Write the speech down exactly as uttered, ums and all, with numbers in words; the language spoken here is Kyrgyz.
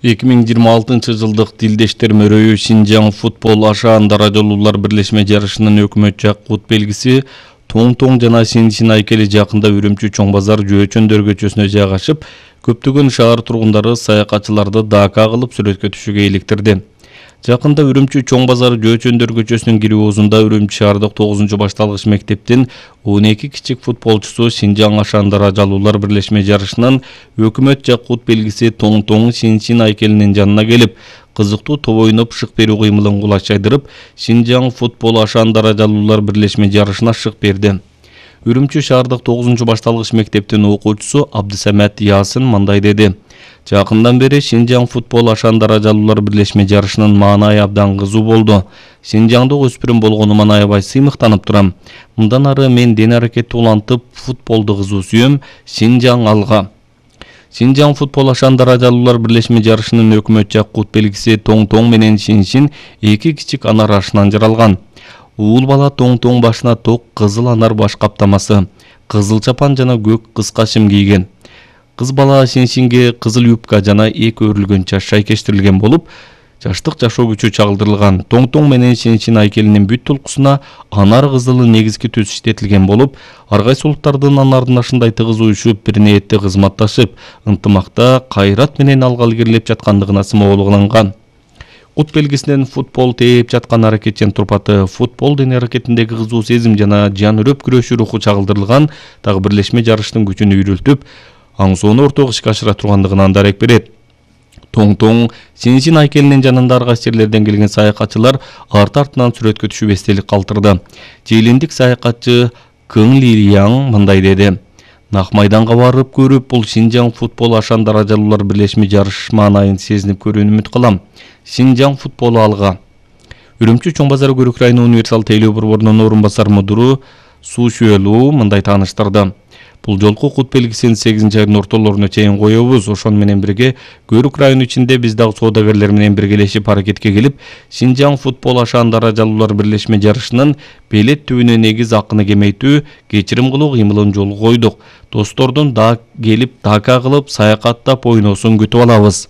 эки миң жыйырма алтынчы жылдык Тилдештер мөрөйү Шинжаң футбол ашаан даражалуулар бирлешме жарышынын өкмөт жакут белгиси Тоң-Тоң жана Син-Син айкели жакында Үрүмчү Чоң базар жөөчөндөр көчөсүнө жайгашып, көптөгөн шаар тургундары саякатчыларды дака кылып сүрөткө түшүүгө иликтирди. Жакында Үрүмчү Чоң базар жөөчөндөр көчөсүнүн кирүүсүндө Үрүмчү шаардык тогузунчу башталгыч мектептин он эки кичик футболчусу Шинжаң ашаан даражалуулар бирлешме жарышынын өкмөт жакут белгиси Тоң-Тоң Син-Син айкелинин жанына келип, кызыктуу топ ойноп шык берүү кыймылын кулач жайдырып, Шинжаң футбол ашаан даражалуулар бирлешме жарышына шык берди. Үрүмчү шаардык тогузунчу башталгыч мектептин окуучусу Абдысамат Ясын мындай деди. Жакындан бери Шинжаң футбол ашаан даражалуулар бирлешме жарышынын маанайы абдан кызуу болду. Шинжаңда өспүрүм болгонуман аябай сыймыктанып турам. Мындан ары мен ден аракетти улантып, футболду кызуу сүйөм. Шинжаң алга. Шинжаң футбол ашаан даражалуулар бирлешме жарышынын өкмөт жакут белгиси Тоң-Тоң менен Син-Син эки кичик анар ашынан жаралган. Уул бала Тоң-Тоң башына ток кызыл анар баш каптамасы, кызыл чапан жана көк кыска шим кийген. Кыз бала Син-Синге кызыл юбка жана эки өрүлгөн чач шайкештирилген болуп, жаштык жашоо күчү чагылдырылган. Тоң-Тоң менен Син-Син айкелинин бүт толкусуна анар кызылы негизги түс иштетилген болуп, ар кайсы улуттардын анардын ашындай тыгыз уюшуп, бир ниетте кызматташып, ынтымакта кайрат менен алга илгерилеп жаткандыгына сымоолугуланган. Кут белгисинен футбол тээп жаткан аракетчен турпаты, футбол дене аракетиндеги кызуу сезим жана жан үрөп күрөшүү руху чагылдырылган, дагы бирлешме жарыштын күчүн үйрөлтүп, аңсоону ортого ишке ашыра тургандыгынан дарек берет. Тоң-Тоң Син-Син айкелинин жанында ар кайсы жерлерден келген саякатчылар арты-артынан сүрөткө түшүп эстелик калтырды. Желиндик саякатчы Кың Лирияң мындай деди. Нак майданга барып көрүп, бул Шинжаң футбол ашаан даражалуулар бирлешме жарыш маанайын сезинип көрүүнү үмүт кылам. Шинжаң футболу алга. Үрүмчү Чоң базар Көрүк району универсал тейлөө борборунун орун басар мудуру Суу Шүөлүү мындай тааныштырды. Бул жолку кут белгисин сегизинчи айдын ортолоруна чейин коебуз. Ошону менен бирге Көрүк району ичинде биз дагы соодагерлер менен биргелешип аракетке келип, Шинжаң футбол ашаан даражалуулар бирлешме жарышынын белет түбүнө негиз акыны кемейтүү, кечирим кылуу кыймылын жолго койдук. Достордун да келип дака кылып, саякаттап ойносун күтүп алабыз.